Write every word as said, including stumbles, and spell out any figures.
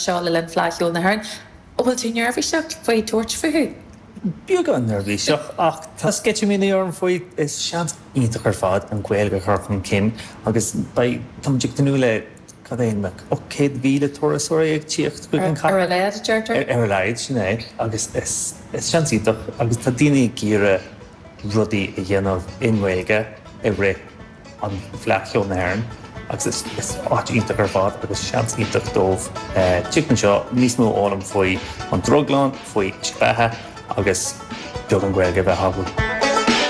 anseo le linn Fleadh Cheoil na hÉireann. An bhfuil tú neirbhíseach faoi tabhairt fúthu? Beagán neirbhíseach ach tá sceitimíní orm faoi is seans iontach ar fad an Ghaeilge a chur chun cinn agus beidh tá ag tnúth le cad é ocht céad míle turasóirí ag tíocht chuig an Ar a laghad deirtear? Ar a laghad sin é agus is is seans iontach agus tá daoine ag iarraidh rudaí a dhéanamh i nGaeilge i rith an Fleadh Cheoil na hÉireann agus is is áit iontach ar fad agus seans iontach dóibh tíocht anseo níos mó a fhoghlaim faoi an Drioglann, faoi beatha agus beagán Gaeilge bheith acu.